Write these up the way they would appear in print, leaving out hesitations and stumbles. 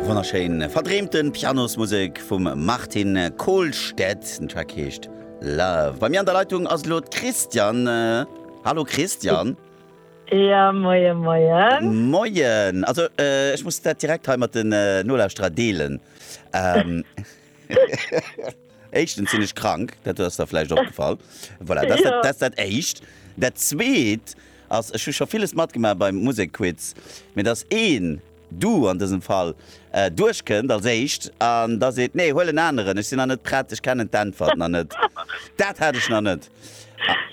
Wonnerschéin verdreemten Pianosmusek vum Martin Kohlstedt. Den Track heescht Love. Bei mir an der Leitung ass elo d'Christiane. Hallo Christiane. Ja, moie moien. Moien. Also ech muss dat direkt hei mat den Nolauschterer deelen. Éischtens sinn ech krank, dat ass der vläicht opgefall. Voilà, dat ass dat, dat ass dat Éischt. Dat Zweet ass, ech hu scho villes matgemaach beim Musekquiz, mee dass een, du an dësem Fall, duerchkënnt als Éischt an da seet, nee, huel en aneren, ech sinn nach net prett, ech kennen d'Äntwert nach net. Dat hat ech nach net.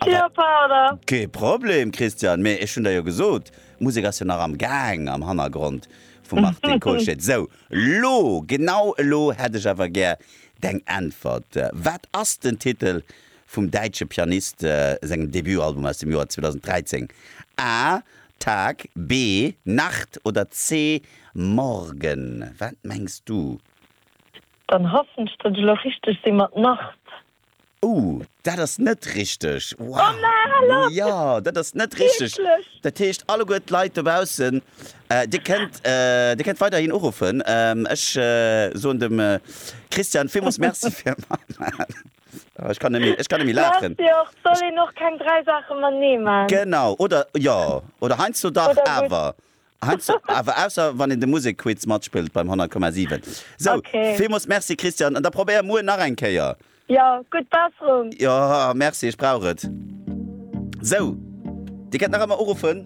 Jo, pardon. Kee Problem, Christian, mee ech hunn der jo gesot, d'Musek ass jo nach am Gaang am Hannergrond vum Martin Kohlstedt. Sou, Lo, genau elo hätt ech awer gär deng Äntwert. Wat ass den Titel vum däitsche Pianist sengem Debutalbum aus dem Joer 2013? A, Tag, B, Nacht oder C, Morgen? Wat mengs du? Dann hoffen ech, datt ech elo richteg si mat Nacht. Ooh, dat ass net richteg. Wow. Oh na, Jo, dat ass net richteg. Wierklech? Dat heescht, alleguer d'Leit dobaussen, dir kënnt, dir kënnt weiderhin uruffen. Ech soen dem Christian villmools Merci fir matmaachen. Ech kann net méi, ech kann net méi laachen. Merci och. Soll een och keng 3 Saache matenee man? Genau, oder jo, oder heiansdo dach awer. Heiansdo, awer ausser wann een de Musekquiz matspillt beim 100,7. Sou, Okay. villmools Merci Christian, an da probéier muer nach eng Kéier. Jo, gutt Besserung! Jo, merci, ech brauch et. Sou, dir kennt nach ëmmer uruffen.